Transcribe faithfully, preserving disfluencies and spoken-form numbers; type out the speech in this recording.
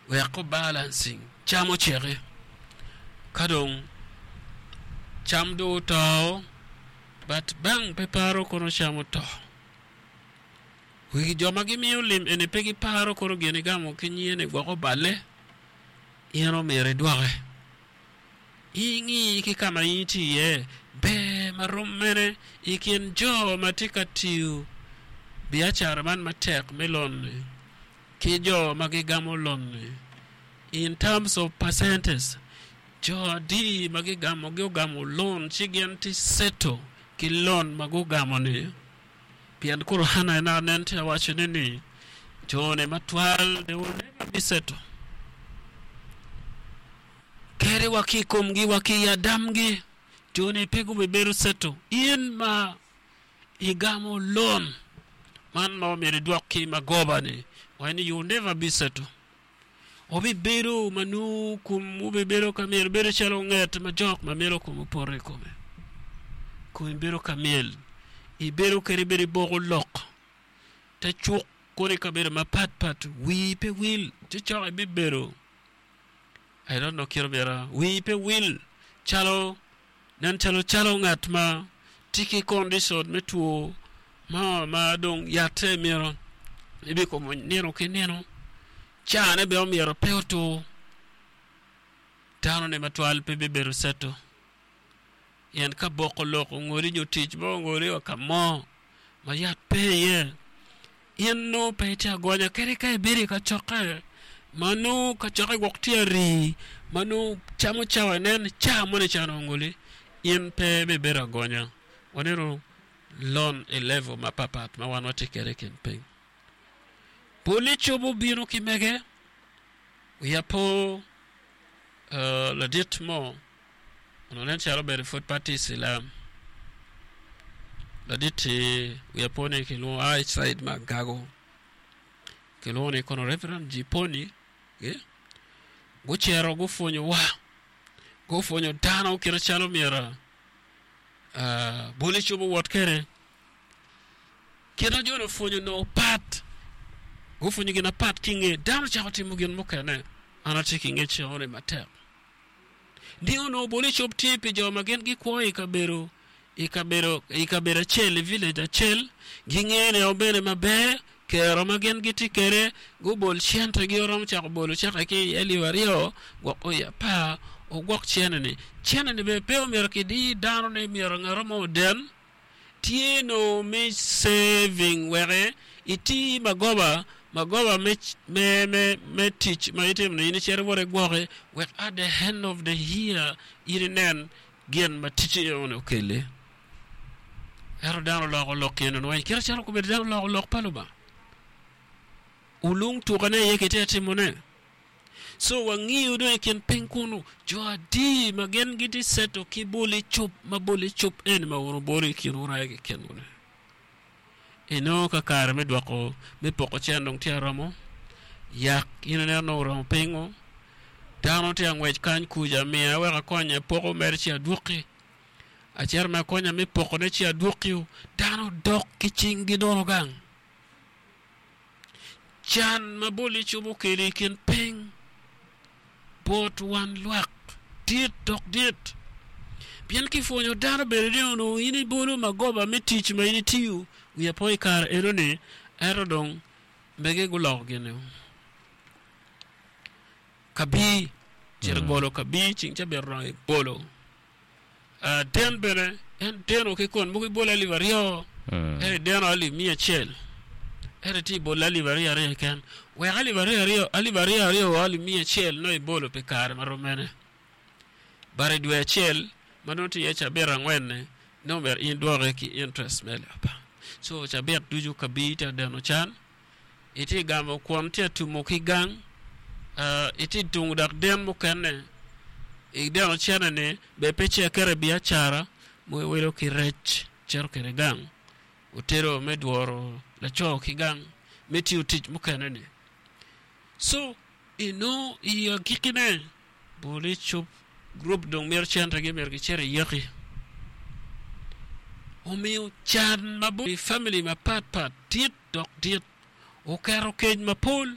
Weko balancing cam oceki. Ka dong cam dong oto, but bank pe paro kono cam oto. Wigi jo ma gimiyo lim eni pe giparo kono gin igamo ki nyine gwoko balle, in omyero idwoke. Ing'i ki ka ma in itye iye, ber ma rom mene i kin jo ma tye ka tiyo biacara man matek me loan-ni ki jo ma gigamo loan-ni in terms of percentage jo adi ma gigamo giogamo loan ci gin tye settle ki loan ma gugamo-ni pien koro an nen tye awaco ni ni jo-ni matwal they will never be settle kadi wa ki i komgi wa ki i adamgi jo-ni pe gubibedo settle in ma igamo loan man ma omyero idwok ki magoba-ni wai ni you will never be settle obibedo ma nongo kom obibedo ka myel bedo calo nget ma jok ma myelo kom opoto i kome komi bedo ka myel ibedo kadi bedo iboko lok te cuk kono i kabedo mapat pat wii pe wil ci cok ibibedo I don't know kit myero wii pe wil calo nen calo calo ngat ma tye ki condition me two mo ma dong yatte myero ibikomo nino ki nino cane bene omyero pe otur dano-ni matwal pe bibedo settle pien ka boko lok ongoli nyo tic mo ongoli wa ka mo ma yat pe iye in nongo pe itye agonya kadi ka ibedo i kacokke ma nongo kacokke gwok tye arii ma nongo camo cawa inen ca moni can ongoli in pe ibibedo agonya waneno loan i level mapapat ma wan watye kwede i kin piny poli cobo bino ki mege wiya po uh, ladit mo ono nen calo bedo pud pe Cilam ladit-ti wiya po ni kilwongo a i side ma Agago kilwongo ni kono Reverend Jiponi eh? gucito gupwonyowa gupwonyo dano kite calo myero uh, boli cobo wot kede kit ma joni opwonyo onongo pat gupwonyo gin apat ki nge dano ocako timo gin mukene an atye ki ngec enoni matek ni onongo boli cob tye pi jo ma gin gikwo i kabedo i kabedo i kabedo acel i village acel gingene bene maber kero ma gin gitye kwede gubol centegi oromo cako bolo ceke ki i alip aryo gwok oyi apar ogwok cene-ni cene-ni bene pe omyero kidi dano ni myero ngat mo oden tye no me saving weke iti magoba magoba me, me, me, me tic ma itimo ni in icito iwot igwoki wek at the end of the year in inen gin ma ticci enoni okeli ento dano oloko lok eno weng kite calo kobedo dano oloko lok pa Lubanga olung tukane iye kitye ka timone so wangiyo dong i kin piny kunu jo adi ma gin gitye settle ki boli cup ma boli cup eni ma wun wubolo i kin wuraye kekenwu-ni inongo ka kare me dwoko me poko cen dong tye aromo yak in ineno nongo oromo pingo dano tye angwec kany kuca miya wek akonye poko mere ci adwoki acito me akonya me pokone ci adwokio dano dok ki cinggi nono gang can ma boli cubo okelo i kin piny bot wan lwak dit dok dit pien kipwonyo dano bene ni onongo in ibolo magoba me tic ma in itiyo wiya po i kare enoni ento dong mege guloko gin kabi cito bolo kabi ceng cabit oromo ibolo uh, den bene en deno ki kon mogo ibolo alip aryo ento ideno alip miya acel ento itye ibolo alip aryo aryo keken wek alip aryo aryo alip aryo aryo wa alip miya acel nongo ibolo pi kare marom mene but i dwe acel ma nongo tye iye cabit angwen-ni nongo myero in idwoke ki interest me alip apar so cabit ducu kabi tye adeno can itye gamo kwon tye atumo ki gang uh, itye tungo dok den mukene ideno cene-ni be pe ce keto i biacara mo iwilo ki rec cito kwede gang otedo me dworo laco ki gang me tiyo tic mukene-ni so inongo i agikine boli cup gurup dong mito centegi myero gicit i yeki omiyo can ma i family mapat pat dit dok dit oketo kec mapol